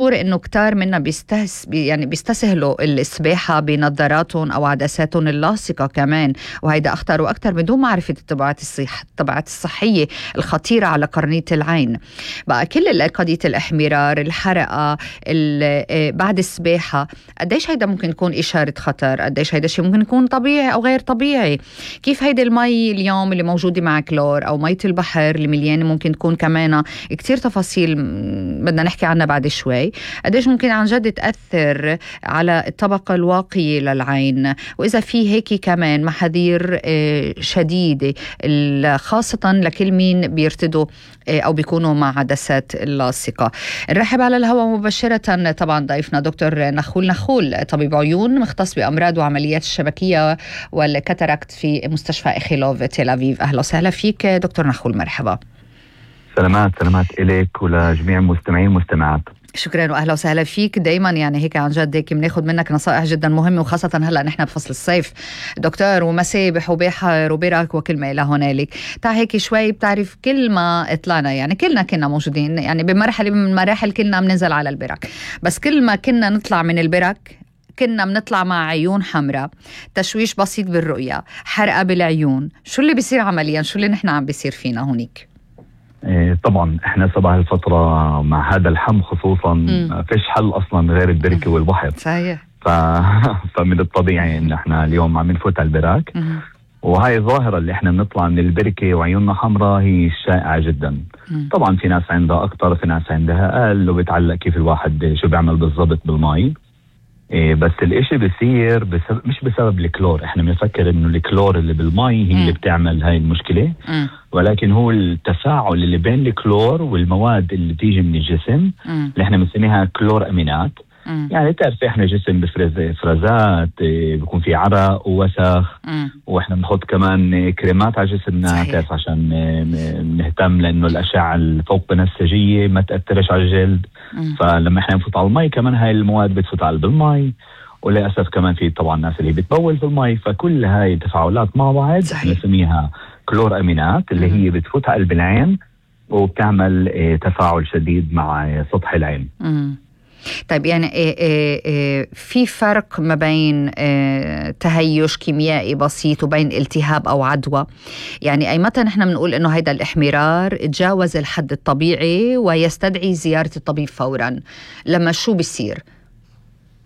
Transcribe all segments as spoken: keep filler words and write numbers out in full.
انه كتار منا بيستهس بي يعني بيستسهلوا السباحه بنظاراتهم او عدساتهم اللاصقه كمان، وهيدا اخطر واكثر بدون معرفه التبعات الصح التبعات الصحيه الخطيره على قرنيه العين. بقى كل قضيه الاحمرار، الحرقه، بعد السباحه، قديش هيدا ممكن يكون اشاره خطر؟ قديش هيدا شيء ممكن يكون طبيعي او غير طبيعي؟ كيف هيدي المي اليوم اللي موجوده مع كلور او ميه البحر اللي مليانه ممكن تكون كمان كتير تفاصيل بدنا نحكي عنها بعد شوي، قديش ممكن عن جد تأثر على الطبقة الواقية للعين، وإذا في هيك كمان محاذير شديدة خاصة لكل مين بيرتدوا أو بيكونوا مع عدسات اللاصقة. نرحب على الهواء مباشرة طبعا ضيفنا دكتور نخول نخول، طبيب عيون مختص بأمراض وعمليات الشبكية والكاتاراكت في مستشفى إخيلوف تل أبيب. أهلا وسهلا فيك دكتور نخول، مرحبا. سلامات سلامات إليك ولجميع المستمعين والمستمعات. شكرا واهلا وسهلا فيك. دايما يعني هيك عن جد هيك بناخذ منك نصائح جدا مهمه، وخاصه هلا نحن بفصل الصيف دكتور، ومسابح وبحر وبرك وكل ما الى هنالك. تعال هيك شوي، بتعرف كل ما طلعنا يعني كلنا كنا موجودين يعني بمرحله من المراحل كنا بننزل على البرك، بس كل ما كنا نطلع من البرك كنا بنطلع مع عيون حمراء، تشويش بسيط بالرؤيه، حرقه بالعيون. شو اللي بيصير عمليا؟ شو اللي نحن عم بيصير فينا هونيك؟ إيه طبعا احنا صباح الفترة مع هذا الحم خصوصا ما فيش حل اصلا غير البركة والبحر. صحيح. ف... فمن الطبيعي ان احنا اليوم عم نفوت على البراك، وهاي الظاهرة اللي احنا بنطلع من البركة وعيوننا حمراء هي شائعة جدا. مم. طبعا في ناس عندها اكتر، في ناس عندها اقل، وبتعلق كيف الواحد شو بيعمل بالضبط بالماء. إيه بس الاشي بيصير بسبب مش بسبب الكلور. احنا بنفكر انه الكلور اللي بالمي هي م. اللي بتعمل هاي المشكلة، م. ولكن هو التفاعل اللي بين الكلور والمواد اللي بتيجي من الجسم م. اللي احنا بنسميها كلور امينات. م. يعني تعرف احنا جسم بفرز افرازات، بيكون في عرق ووسخ، م. واحنا بنحط كمان كريمات على جسمنا تعرف عشان نهتم لانه الاشعة الفوق بنفسجية ما تأثرش على الجلد. م. فلما احنا نفوت على المي كمان هاي المواد بتفوت على المي، وللأسف كمان في طبعا ناس اللي بتبول في المي. فكل هاي التفاعلات مع بعض نسميها كلور امينات اللي هي بتفوت على قلب العين وبتعمل اه تفاعل شديد مع اه سطح العين. م. طيب يعني إيه إيه إيه في فرق ما بين إيه تهيج كيميائي بسيط وبين التهاب أو عدوى؟ يعني أي متى نحن بنقول إنه هيدا الإحمرار تجاوز الحد الطبيعي ويستدعي زيارة الطبيب فورا؟ لما شو بيصير؟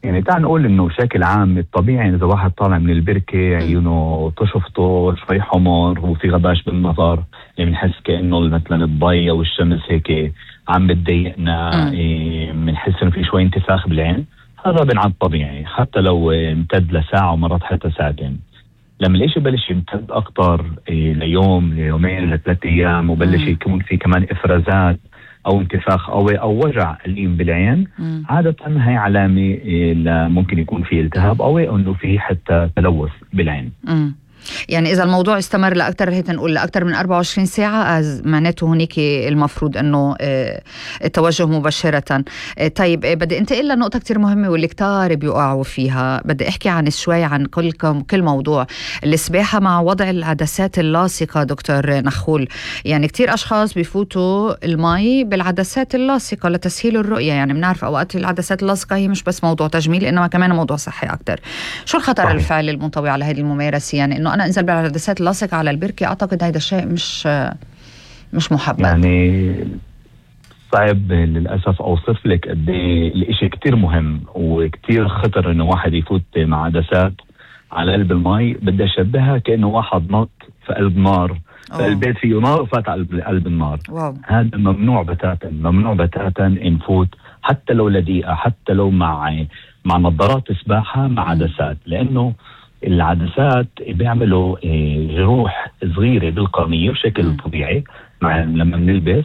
يعني تعال نقول إنه بشكل عام الطبيعي إذا واحد طالع من البركة عيونه تشفطه شوي حمر وفي غباش بالنظر، يعني بنحس كأنه مثلا الضي أو الشمس هيك عم بتضايقنا، بنحس إيه انه في شوي انتفاخ بالعين. هذا بنعد طبيعي حتى لو امتد لساعة ومرات حتى ساعتين. لما الاشي بلش يمتد اكتر إيه ليوم ليومين لثلاث ايام وبلش يكون في كمان افرازات او انتفاخ او او وجع أليم بالعين، مم. عادة هاي علامة إيه ممكن يكون في التهاب او انه في حتى تلوث بالعين. مم. يعني إذا الموضوع استمر لأكثر هيك نقول لأكثر من أربعة وعشرين ساعة معناته هناك المفروض أنه التوجه مباشرة. طيب بدي انتقل لنقطة كتير مهمة واللي كتار بيقعوا فيها، بدي أحكي عن شوي عن كل كل موضوع السباحة مع وضع العدسات اللاصقة. دكتور نخول، يعني كتير أشخاص بيفوتوا المي بالعدسات اللاصقة لتسهيل الرؤية. يعني بنعرف أوقات العدسات اللاصقة هي مش بس موضوع تجميل إنما كمان موضوع صحي أكتر. شو الخطر صحيح. الفعلي المنطوي على هذه الممارسة؟ يعني إنه أنا أنزل بالعدسات اللاصقة على البركة، أعتقد هذا الشيء مش مش محبب. يعني صعب للأسف أوصف لك قد إيه الإشي كتير مهم وكتير خطر إنه واحد يفوت مع عدسات على قلب المي. بدي أشبهها كأنه واحد نط في قلب نار، فالبيت فيه نار وفات على قلب النار. واو. هذا ممنوع بتاتا، ممنوع بتاتا نفوت حتى لو لدقيقة، حتى لو مع مع نظارات سباحة مع عدسات، لأنه العدسات بيعملوا جروح صغيرة بالقرنية بشكل م. طبيعي مع لما بنلبس،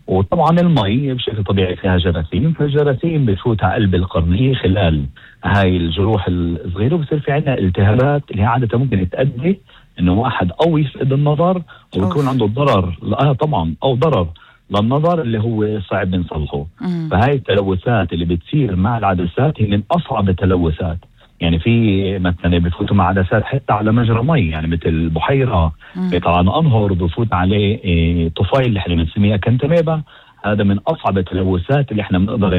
وطبعا المي بشكل طبيعي فيها جراثيم، فالجراثيم بتفوت على قلب القرنية خلال هاي الجروح الصغيرة، وبصير في عنا التهابات اللي هي عادة ممكن تؤدي انه واحد او يفقد النظر ويكون عنده ضرر اه طبعا او ضرر للنظر اللي هو صعب نصلحه. فهاي التلوثات اللي بتصير مع العدسات هي من اصعب التلوثات. يعني في مثلا بفوتوا مع عدسات حتى على مجرى مي، يعني مثل بحيرة، طبعا انهر بفوت عليه إيه طفيل اللي احنا بنسميها كنتميبا. هذا من اصعب التلوثات اللي احنا بنقدر